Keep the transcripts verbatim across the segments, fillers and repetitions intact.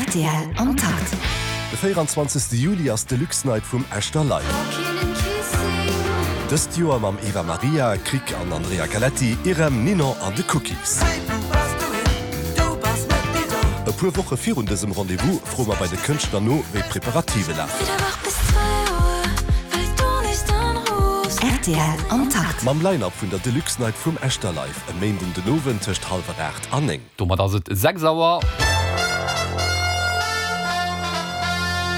Rtl am Takt. De véieranzwanzegste Juli ass d'Deluxe Night vum Echter Live. Dëst Joer mam Eva Maria, Krick an Andrea Galetti, Irem, Ninon an de Cookies. E puer Woche virun dësem Rendez-vous froe mer bei de Kënschtler no, wéi d'Preparative lafen. Rtl am Takt. Mam Line-Up vun der Deluxe Night vum Echter Live e Méinden den Owend tëscht hallwer aacht an néng. Domat ass et sechs Auer.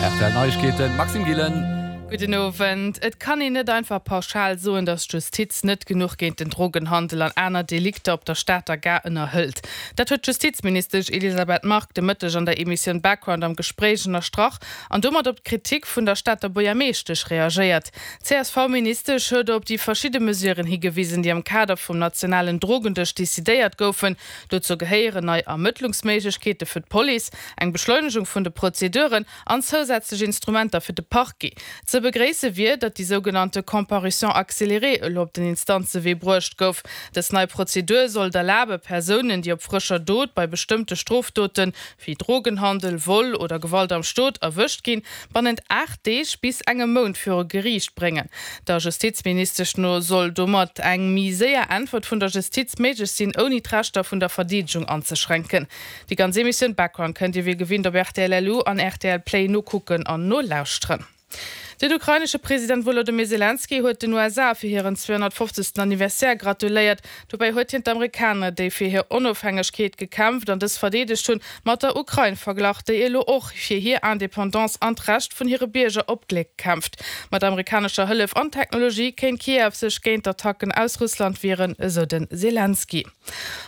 Rtl Neiegkeeten, Maxime Gillen. Gudden Owend. Et kann een net einfach pauschal soen, datt d'Justiz net genuch géint den Drogenhandel an aner Delikter op der Stater Gare ënnerhëlt. Dat huet d'Justizministesch Elisabeth Margue de Mëtteg an der Emissioun Background am Gespréich ënnerstrach an domat op d'Kritik vun der Stater Buergermeeschtesch reagéiert. D'CSV-Ministesch huet op déi verschidde Mesuren higewisen, déi am Kader vum nationalen Drogendësch decidéiert goufen. Dozou gehéieren nei Ermëttlungsméiglechkeete fir d'Police, eng Beschleunegung vun de Prozeduren an zousätzlech Instrumenter fir de Parquet. Ze begréisse wier, datt déi sougenannte Comparution accélérée elo op den Instanzewee bruecht gouf. Dës nei Prozedur soll et erlabe Persounen, déi op frëscher Dot bei bestëmmte Strofdoten, wéi Drogenhandel, Vol oder Gewalt am Stot, erwëscht ginn, bannent aacht Deeg bis engem Mount viru Geriicht bréngen. Der Justizministesch no soll domat eng méi séier Äntwert vun der Justiz méiglech sinn, ouni d'Rechter vun der Verdeedegung anzeschränken. Déi ganz Emissioun Background kënnt Dir wéi gewinnt op rtl LU an rtl Play nokucken an nolauschteren. Den ukrainesche President Wolodymyr Selenskyj huet den U S A fir hiren zweehonnertfofzegsten Anniversaire gratuléiert. Dobäi huet hien d'Amerikaner, déi fir hir Onofhängegkeet gekämpft an dës verdeedegt hunn, mat der Ukrain verglach, déi elo och fir hir Independance an d'Recht vun hire Bierger op Gléck kämpft. Mat amerikanescher Hëllef an Technologie kéint Kiew sech géint d'Attacken aus Russland wieren, esou de Selenskyj.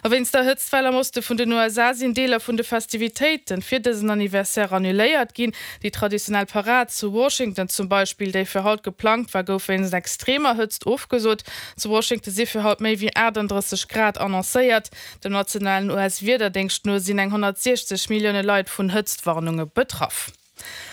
A wéinst der Hëtztwell am Oste vun den U S A sinn Deeler vun de Festivitéiten fir dësen Anniversaire annuléiert ginn. Déi traditionell Parad zu Washington zum Beispill, déi fir haut geplangt war, gouf wéinst extremer Hëtzt ofgesot. Zu Washington si fir haut méi wéi aachtanddrësseg Grad annoncéiert. Dem nationalen U S-Wiederdéngscht no sinn eng honnertsiechzeg Millioune Leit vun Hëtztwarnunge betraff.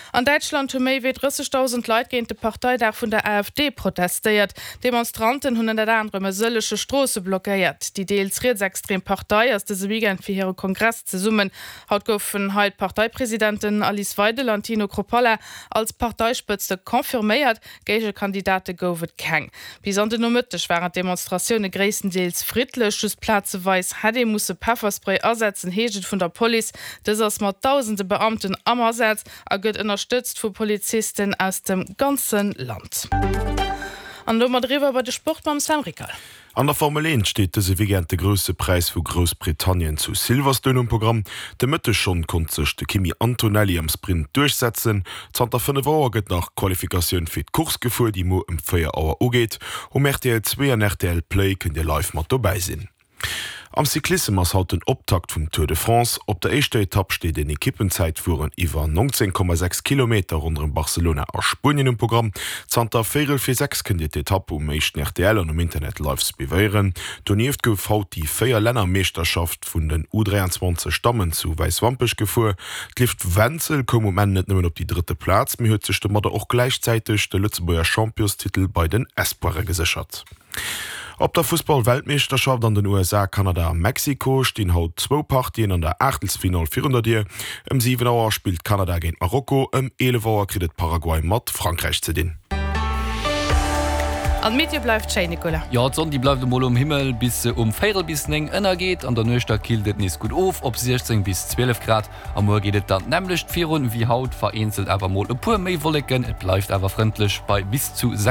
An Däitschland hu méi wéi drëssegdausend Leit géint de Parteidag vun der A F D protestéiert. Demonstranten hunn ënnert anerem e sëllege Stroosse blockéiert. Déi deels rietsextrem Partei ass dëse Weekend fir hire Kongress zesummen. Haut goufen hei d'Parteipresidenten Alice Weidel an Tino Chrupalla als Parteispëtzte confirméiert. Géigekandidate gouf et keng. Bis an den Nomëtteg waren d'Demonstratioune gréisstendeels friddlech. Just plazeweis hätt ee musse Pefferspray asetzen, heescht et vun der Police. Dës ass mat dausende Beamten am Asaz a gëtt ënnerstëtzt vu Polizisten aus dem ganze Land. An domat eriwwer bei de Sport mam Sam Rickal. An der Formel eent steet dëse Weekend de grousse Präis vu Groussbritannien zu Silverstone um Programm. De Mëtteg schonn konnt sech de Kimi Antonelli am Sprint duerchsetzen. Zanter fënnef Auer gëtt nach d'Qualifikatioun fir d'Course gefuer, déi muer ëm véier Auer ugeet. Um R T L zwee an R T L Play kënnt Dir live mat dobäi sinn. Am Cyclissem ass haut den Optakt vum Tour de France. Op der éischter Etapp steet en Ekippenzäitfueren iwwer neunzehn Komma sechs Kilometer ronderëm Barcelona a Spuenien um Programm. Zanter véierel vir sechs kënnt Dir d'Etapp um éischten R T L an um Internet live suivéieren. Donieft gouf haut déi Véier-Länner-Meeschterschaft vun den U dräianzwanzeg Dammen zu Wäiswampech gefuer. D'Liv Wenzel koum um Enn net nëmmen op déi drëtte Plaz, mee huet sech domadder och gläichzäiteg de Lëtzebuerger Championstitel bei den Espoire geséchert. Op der Fussball-Weltmeeschterschaft an den U S A, Kanada a Mexiko stinn haut zwou Partien an der Aachtelsfinall virun der Dier. Ëm siwen Auer spillt Kanada géint Marokko, ëm eelef Auer kritt et Paraguay mat Frankräich ze dinn. An d'Meteo bleift schéin, Nicolas. Jo, d'Sonn déi bleift emol um Himmel, bis se um véierel bis néng ënnergeet. An der Nuecht da killt et nees gutt of op siechzéng bis zwielef Grad. A muer geet et dann d'nämmlecht virun wéi haut, vereenzelt awer mol e puer méi Wolleken. Et bleift awer frëndlech bei bis zu sechs.